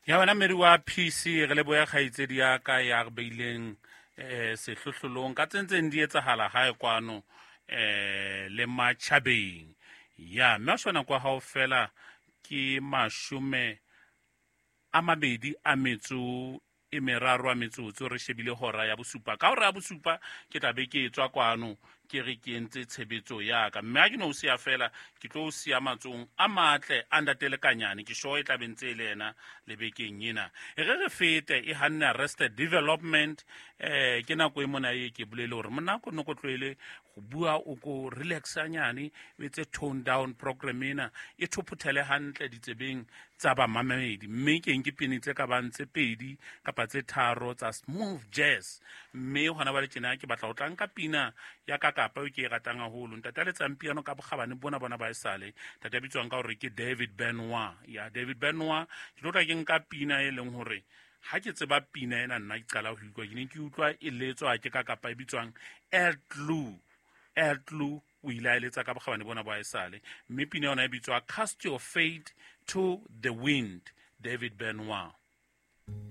Ya wena mmedi wa PC, re leboya kgaitsedi ya ka ya re beileng sehlohlolong ka tse ntseng di etsahala hae kwano le matjhabeng. Ya mme a shona kwa hao fela ke 23 a metsotso, re shebile hora ya bosupa. Ka hora ya bosupa ke tla be ke tswa kwano, ke re ke entse tshebetso ya ka, mme ha ke no o siya fela, ke tlo o siya matsohong a matle a ntate Lekanyane. Ke sure e tla be ntse e le ena le bekeng ena. E re re fete e hanne Arrested Development. Ke nako e mona e ke bolele hore mona ko no ko tlohele go bua, o ko relaxanyane, o etse tone down program ena e thophothele hantle ditsebeng tsa bamamedi. Mme ke nke pene tse ka bang tse pedi kapa tse tharo tsa smooth jazz, mme hona ba le tjena ke batla ho tla nka pina ya ka kapa eo ke e ratang haholo. Ntate a letsang piano ka bokgabane bona bona ba esale, ntate a bitswang ka hore ke David Benoit. Ya David Benoit, ke tlo tla ke nka pina e leng hore ha ke tseba pina ena nna ke qala ho utlwa, ke ne ke utlwa e letswa ke ka kapa e bitswang Art Blue. Art Blue o ile a eletsa ka bokgabane bona bo esale, mme pina yona e bitswa Cast Your Fate to the Wind, David Benoit.